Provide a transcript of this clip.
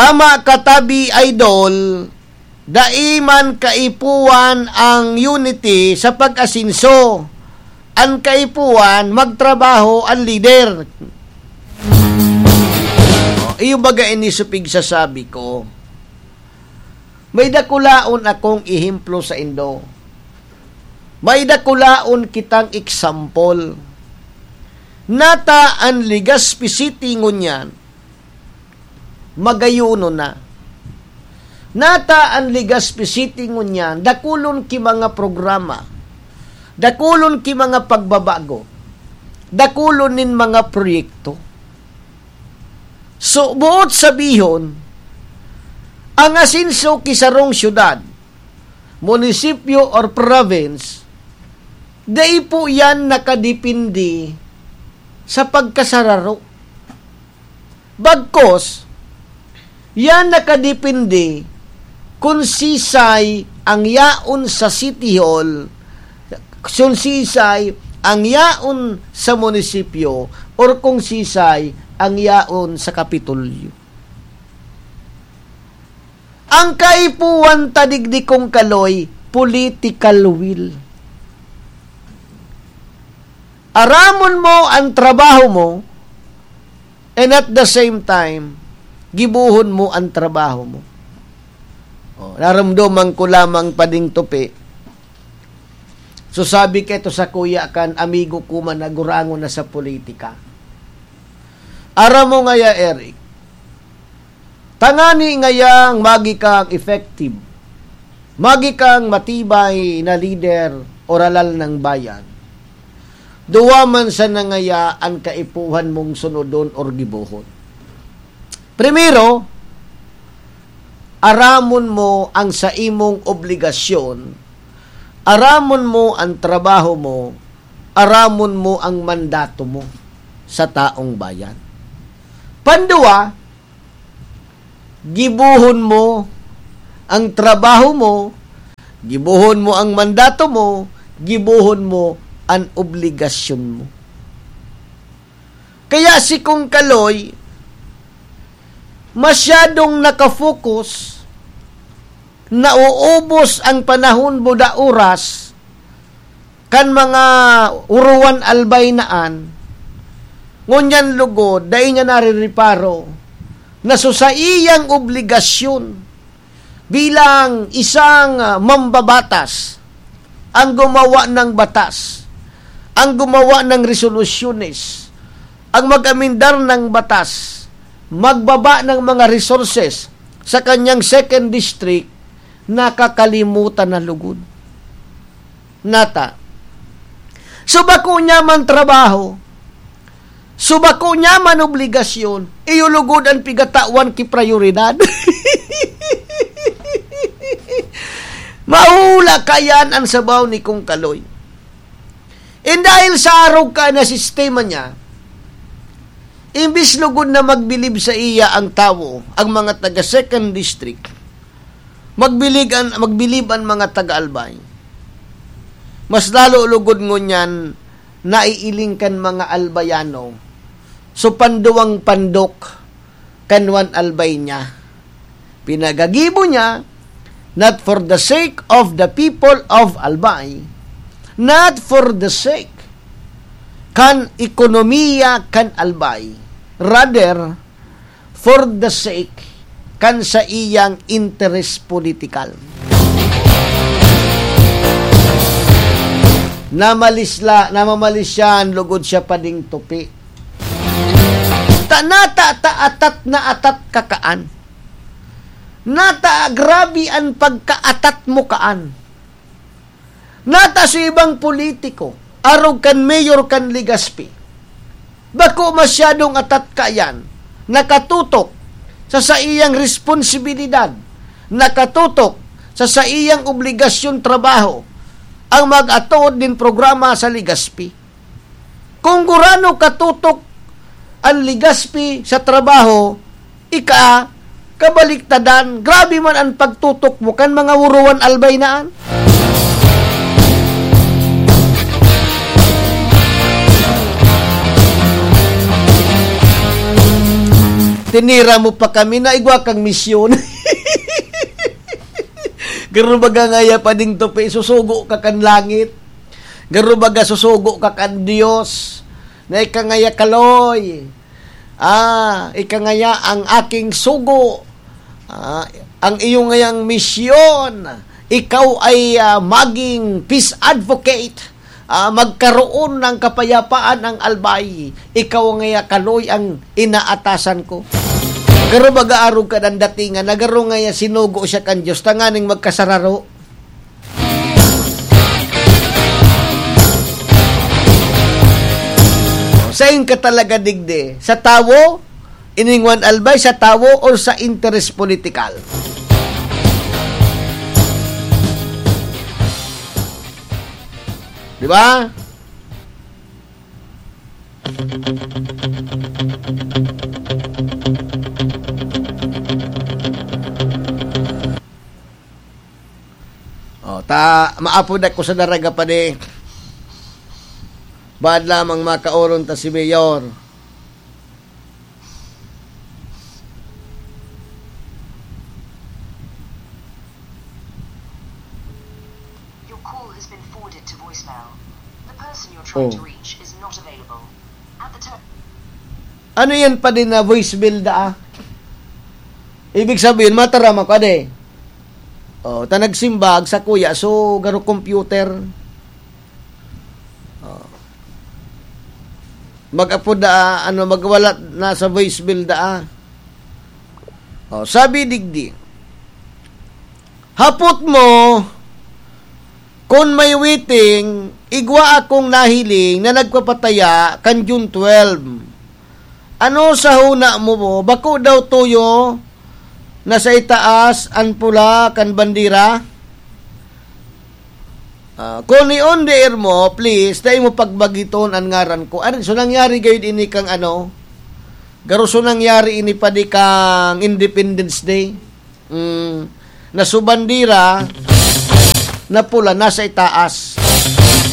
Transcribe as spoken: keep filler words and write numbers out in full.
Ama katabi, idol, dai man kaipuhan ang unity sa pag-asenso. An kaipuhan, magtrabaho an lider. O, iyo baga ini sa pigsasabi ko. May dakulaon akong ehemplo saindo. May dakulaon kitang example. Nata an Legazpi City ngunyan, magayuno na. Nata an Legazpi City ngunyan, dakulon ki mga programa, dakulon ki mga pagbabago, dakulon nin mga proyekto. So, boot sabihon, ang asenso ki sarong syudad, munisipyo or province, dai po yan nakadepende sa pagkasararo. Bagkos, yan nakadepende kun sisay ang yaon sa City Hall, kun sisay ang yaon sa munisipyo, or kung sisay ang yaon sa Kapitolyo. Ang kaipuhan ta digdi, Kong Kaloy, political will. Aramon mo an trabaho mo, and at the same time, gibohon mo an trabaho mo. O, naramdaman ko lamang pa ding tupi. So, sabi kaito sakuya kan amigo ko man na gurangon na sa politika, "Aram mo ngaya, Eric, tangani ngayang magi kang effective, magi kang matibay na lider o halal ng bayan, duwa man sana ngaya an kaipuhan mong sunodon or gibohon. Primero, aramon mo ang saimong obligasyon, aramon mo an trabaho mo, aramon mo ang mandato mo sa taong bayan. Panduwa, gibohon mo ang trabaho mo, gibohon mo ang mandato mo, gibohon mo an obligasyon mo." Kaya si Kong Kaloy, masyadong nakafocus, nauubos ang panahon, buda oras, kan mga uruwan albay na an, ngunyan lugod, dai niya narireparo na sa saiyang obligasyon bilang isang, ah, mambabatas, ang gumawa ng batas, ang gumawa ng resolusyones, ang mag-amendar ng batas, magbaba ng mga resources sa kanyang second district, nakakalimutan na lugod. Nata. So, bako niya man trabaho, so, bako niya man obligasyon, iyo lugod an pigatawan ki prayoridad. Mahula kayan an sabaw ni Kong Kaloy. And dahil sa arog ka na sistema niya, imbis lugod na magbilib sa iya ang tawo, ang mga taga Second District, magbilig an, magbilib an mga taga Albay. Mas lalo lugod ngunyan naiiling kan mga Albayano. So, panduwang pandok kan Juan Albay niya. Pinagagibo niya, not for the sake of the people of Albay, not for the sake kan ekonomiya kan Albay, rather, for the sake kan saiyang interes politikal. Namalisla, namamalisyan, lugod siya pa ding tupi. Ta, nata, ta, atat na atat ka kaan. Nata, grabe an pagkaatat mo kaan. Nata sa ibang politiko, arog kan mayor kan Legazpi. Bako masyadong atat kayan, nakatutok sa saiyang responsibilidad, nakatutok sa saiyang obligasyon trabaho, ang mag-atood nin programa sa Legazpi. Kung gurano katutok an Legazpi sa trabaho, ika, kabaliktadan, grabe man an pagtutok mo kan mga uruwan Albay na an. Tinira mo pa kami na igwa kang misyon. Garo baga ngaya pa ding tupi, susugo ka kan langit. Garo baga susugo ka kan Dios. Na ika ngaya kaloy. Ah, ika ngaya ang aking sugo. Ah, ang iyo ngayang misyon. Ikaw ay, ah, maging peace advocate. Ah, magkaroon ng kapayapaan ang Albay. Ikaw ngaya kaloy ang inaatasan ko. Garo baga arog ka ng datingan, na garo ngaya sinugo siya kan Dios, tanganing magkasararo. Sain ka talaga digdi? Sa tawo? Iningwan Albay sa tawo or sa interes politikal? Di ba? O, ta, maapod ako sa daraga pa di. Baad lamang makauron ta si Mayor. Your call has been forwarded to voicemail. The person you're trying Oh. to reach is not available. At the tone. Ano yan pa din na voicemail daa? Ibig sabihin, mataram ako, ade. Oh, ta nagsimbag sa kuya, so, garo computer. Oh. Mag-apod na, ano, magwala na sa voicemail daa. Oh, sabi digdi, "Hapot mo, kun may waiting, igwa akong nahiling na nagpapataya kan June twelve. Ano sa huna mo, bo? Bako daw tuyo na sa itaas an pula kan bandera?" Ah, kun iyon diir mo, please, dai mo pagbagiton an ngaran ko. Ano, so nangyari gayud ini kang ano? Garo so nangyari ini pa di kang Independence Day. Mm, na so bandera na pula nasa itaas.